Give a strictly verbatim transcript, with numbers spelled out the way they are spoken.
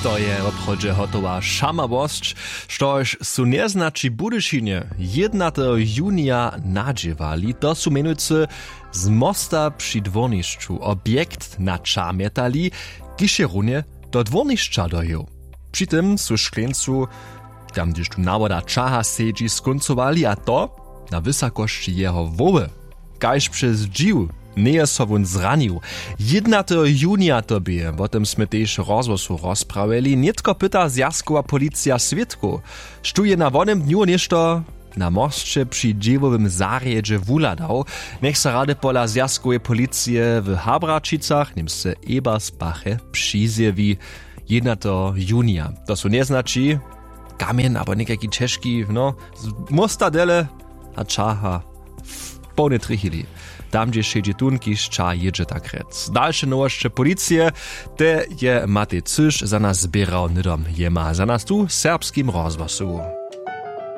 To je woprawdźe hotowa šamawosć, štož su njeznaći w Budyšinje jědnateho junija nadźěłali. To su mjenujcy z mosta při dwórnišću objekt na ča mjetali, kiž je runje do dwórnišća dojěł. Při tym su škleńcu, tam hdyž tu nawoda čaha sedźi, skóncowali, a to na wysokosći jeho hłowy. Kaž přez dźiw njeje so wón zranił. Jědnateho junija to bě, wo tym smy tež w rozhłosu rozprawjeli. Nětko pyta zwjazkowa policija swědkow, štó je na wonym dnju něšto na mosće při dźěłowym zarjedźe wuhladał. Njech so rady pola zwjazkoweje policije w Habraćicach, němsce Ebersbache, přizjewi. Jědnateho junija, to su njeznaći kamjeń abo někajki ćežki, no, z mosta dele, a čaha w połnej trěchili. Tam, hdźež sedźi tón, kiž ča jědźe, tak rjec. Dalše nowosće policije, te je Matej Cyš za nas zběrał hnydom jema za nas tu w Serbskim rozhłosu.